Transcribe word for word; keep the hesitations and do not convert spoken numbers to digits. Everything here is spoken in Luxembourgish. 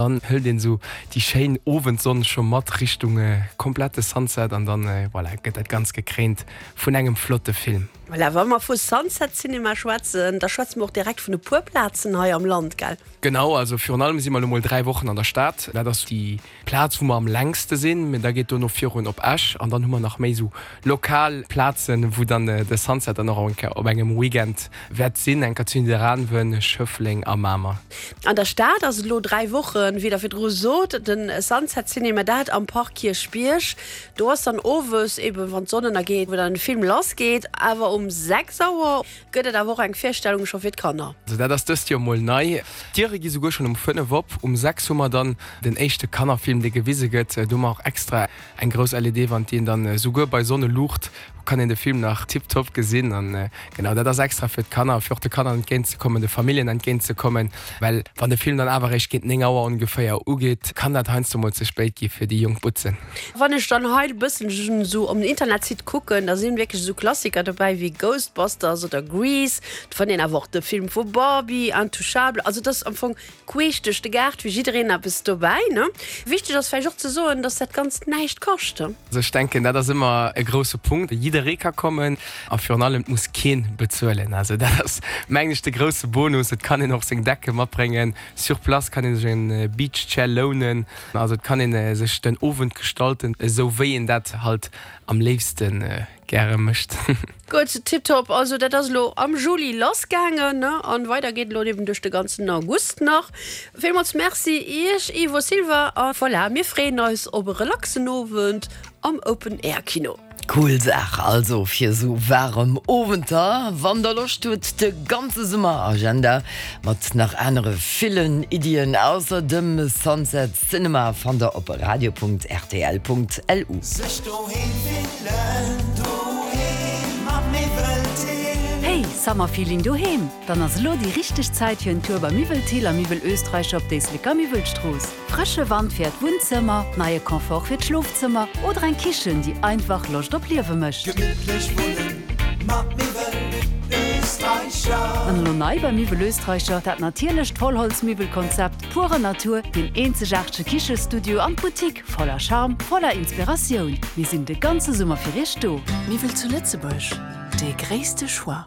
Dann hëlt een esou déi schéin Owendsonn scho mat Richtung komplette Sunset an dann, voilà, gëtt dat Ganzt gekréint vun engem flotte Film. Voilà, wa mer vu Sunset Cinema schwätzen, da schwätze mer och direkt vun e puer Plazen hei am Land, gell? Genau, also virun allem si mer elo mol dräi Wochen an der Stad. Dat ass déi Plaz, wou mer am längste sinn. Mee da geet dono virun op Esch an dann hu mer nach méi esou lokal Plazen, wou dann de Sunset dann och eng Kéier op engem Weekend wäert sinn, eng Kéier zu Nidderaanwen, Schëffleng a Mamer. An der Stad ass et elo dräi Wochen, wéi Der virdru sot, de Sunset Cinema, dat am Park Kierchbierg. Do ass dann owes eben, wann d'Sonn ënnergeet, wou dann de Film lassgeet. Awer um sechs Auer gëtt et awer och eng Virstellung scho fir d'Kanner. Also dat ass dëst Joer mol nei. D'Diere gi souguer schonn um fënnef op. Um sechs hu mer dann den éischte Kannerfilm, dee gewise gëtt. Do hu mer och extra eng grouss L E D-Wand, déi een dann souguer bei Sonneluucht kann een de Film nach tiptop gesinn. An genau dat ass extra fir d'Kanner, fir och de Kanner entgéint ze kommen, de Familljen entgéint ze kommen, well wann de Film dann awer eréischt géint néng Auer ongeféier ugeet, kann dat heiansdo mol ze spéit gi fir déi jonk Butzen. Wann ech dann hei e bëssen esou op den Internetsite kucken, da sinn wierklech esou Klassiker dobäi wéi Ghostbusters oder Grease. Et fënnt een awer och de Film vu Barbie, Intouchables. Also et ass am Fong queesch duerch de Gaart fir jiddereen eppes dobäi, ne? Wichteg ass vläicht och ze soen, dass dat Ganzt näischt kascht. Also ech denken, dat ass ëmmer e grousse Punkt. Jidderee ka kommen a virun allem, et muss kee bezuelen. Also dat ass, mengen ech, de grousse Bonus. Et kann een och seng Decke matbréngen. Sur place kann ee sech en Beach Chair lounen. Also et kann ee sech den Owend gestalten, esou wéi een dat halt am léifste gäre mécht. Gutt, tiptop. Also dat ass elo am Juli lass gaangen, ne? An weider geet elo eben duerch de ganzen August nach. Villmools Merci Iech, Ivo Silva. A voilà, mir freeën eis op e relaxen Owend am Open Air Kino. Cool Saach also fir sou waarem Owenter. Wann der Loscht hutt, de ganze Summer-Agenda mat nach anere villen Iddien ausser dem Sunset Cinema fannt der op radio Punkt R T L Punkt L U. Sech doheem fillen, doheem mam Miwwel Thill. Hey, Summerfeeling doheem? Dann ass elo déi richteg Zäit fir en Tour bei Miwwel Thill a Miwwel Österreicher op d'Éisleker Miwwelstrooss. Frësche Wand fir d'Wunnzëmmer, neie Confort fir d'Schlofzëmmer oder eng Kichen, déi einfach Loscht op Liewe mécht. Gemittlech wunnen mat Miwwel Österreicher. An elo nei bei Miwwel Österreicher, dat natierlecht Vollholzmiwwelkonzept, pure Natur, deen eenzegaartege Kichestudio an d'Boutique voller Charme, voller Inspiratioun. Mir sinn de ganze Summer fir iech do. Miwwel zu Lëtzebuerg, dee gréisste Choix.